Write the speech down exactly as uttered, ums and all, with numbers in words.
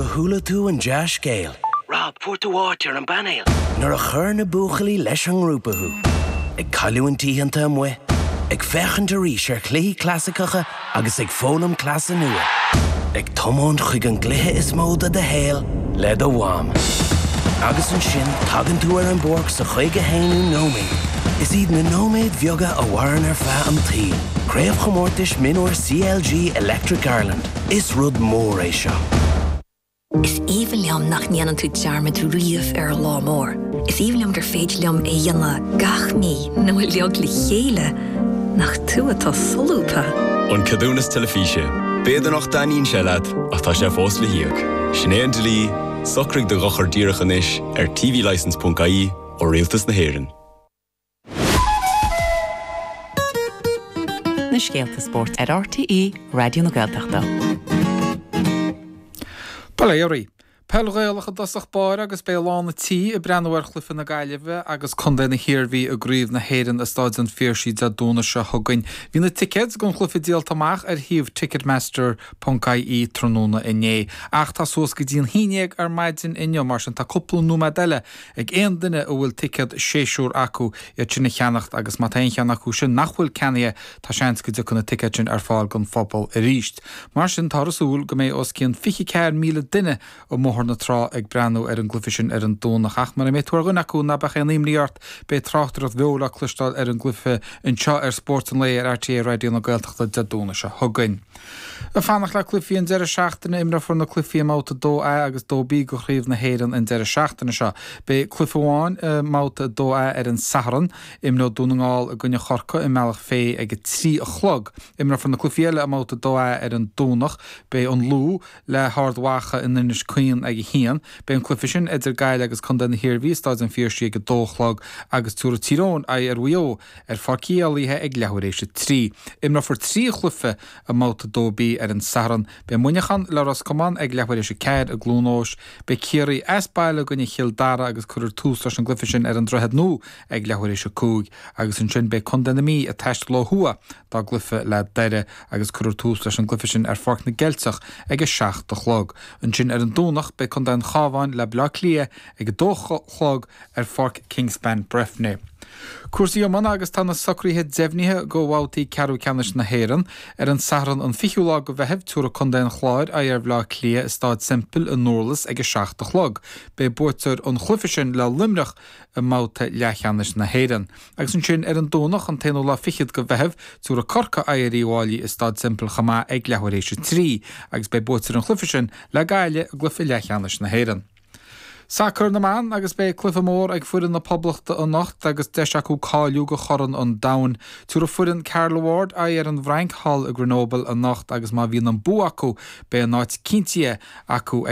Nuair a chuala tú an dea-scéal. Rob fuair tú áit ar an bpainéal. Nuair a chuir na buachaillí leis an ngrúpa thú. Ag cailliúint oícheanta amuigh, ag féachaint arís ar chluichí clasaiceacha agus ag foghlaim cleasa nua. Ag tiomáint chuig an gcluiche is mó de do shaol le do mham. Agus ansin tagann tú ar an bpáirc sa chaoga haonú nóiméad. Is iad na nóiméid bheaga a mhaireann ar feadh an tsaoil. Craobhchomórtais Mionúr CLG Electric Ireland. Is rud mór é seo. Is aoibhinn liom nach ndéanann tú dearmad riamh ar an lá mór. Is aoibhinn liom gur féidir liom é a dhéanamh gach mí nó uilig le chéile nach tú atá solúbtha. An ceadúnas teilifíse. B'fhéidir nach dtaitníonn sé leat ach tá sé fós le híoc. Sin é an dlí, socraigh do dhochar díreach anois ar tvlicence.ie ó Rialtas na hÉireann. Na scéalta spóirt ar RTÉ Raidió na Gaeltachta. Baléirí. Peil Ghaelach i dtosach báire agus beidh lán an tí ag breathnú ar chluiche na Gaillimhe agus Contae na hIarmhí i gCraobh na hÉireann i Staid an Phiarsaigh Dé Domhnaigh seo chugainn. Bhí na ticéid don chluiche díolta amach ar shuíomh Ticketmaster.ie tráthnóna inné. Ach tá suas go dtí an haon déag ar maidin inniu mar sin tá cúpla nóiméad eile ag aon duine a bhfuil ticéad séasúr acu iad sin a cheannacht agus má tá aon cheann acu sin nach bhfuil ceannaithe tá seans go dtiocfaidh na ticéid sin ar fáil don phobal arís. Mar sin tá súil go mbeidh os cionn fiche ceathair míle duine i mBóthar na Trá ag breathnú ar an gcluiche sin ar an Domhnach ach mura mbeidh tú ar dhuine acu ná bíodh aon imní ort beidh tráchtaireacht bheo le cloisteáil ar an gcluiche anseo ar Spórt an Lae ar RTÉ Raidió na Gaeltachta Dé Domhnaigh seo chugainn. Ag fanacht le cluichí an deireadh seachtaine imreofar na cluichí i mbabhta dó A agus dó B de Chraobh na hÉireann an deireadh seachtaine seo. Beidh cluiche amháin i mbabhta dó A ar an Satharn, imreoidh Dún na nGall i gcoinne Chorcaí i mBealach Féich ag a trí a chlog. Imreofar na cluichí eile i mbabhta dó A ar an Domhnach, beidh an Lú le hArd Mhacha in Inis Caoin ag a haon. Beidh an cluiche sin idir Gaillimh agus Contae na hIarmhí i Staid an Phiarsaigh ag a dó a chlog agus tabharfaidh Tír Eoghain aghaidh ar Mhaigh Eo ar Pháirc Uí Éalaithe ag leathuair éis a trí. Imreofar trí chluiche i mbabhta dó B ar an Satharn. Beidh Muineachán le Ros Comáin ag leathuair éis a ceathair i gCluain Eois. Beidh Ciarraí as baile i gcoinne Chill Dara agus cuirfear tús leis an gcluiche sin ar an Droichead Nua ag leathuair éis a cúig agus ansin beidh Contae na Mí ag taisteal ó thuaidh dá gcluiche le Doire agus cuirfear tús leis an gcluiche sin ar Pháirc na gCeilteach ag a seacht a chlog. Ansin ar an Domhnach beidh Contae an Chabháin le Baile Átha Cliath ag a dó a chlog ar Pháirc Kingspan Breffni. Cúrsaí iomána agus tá na socruithe deimhnithe do bhabhtaí ceathrú ceannais na hÉireann. Ar an Satharn an fichiú lá de Mheitheamh tabharfaidh Contae an Chláir aghaidh ar Bhaile Átha Cliath i Staid Semple i nDurlas ag a seacht a chlog. Beidh buaiteoir an chluiche sin le Luimneach i mbabhta leathcheannais na hÉireann. Agus ansin ar an Domhnach an t-aonú lá fichead de Mheitheamh tabharfaidh Corcaigh aghaidh ar Uíbh Fhailí i Staid Semple chomh maith ag leathuair éis a trí, agus beidh buaiteoir an chluiche sin le Gaillimh i gcluiche leathcheannais na hÉireann. Sacar na mban agus beidh cluiche mór ag foireann na Poblachta anocht agus deis acu cáiliú do Chorn an Domhain. Tabharfaidh foireann Carla Ward aghaidh ar an bhFrainc thall i Grenoble anocht agus má bhíonn an bua acu beidh a n-áit cinntithe acu ag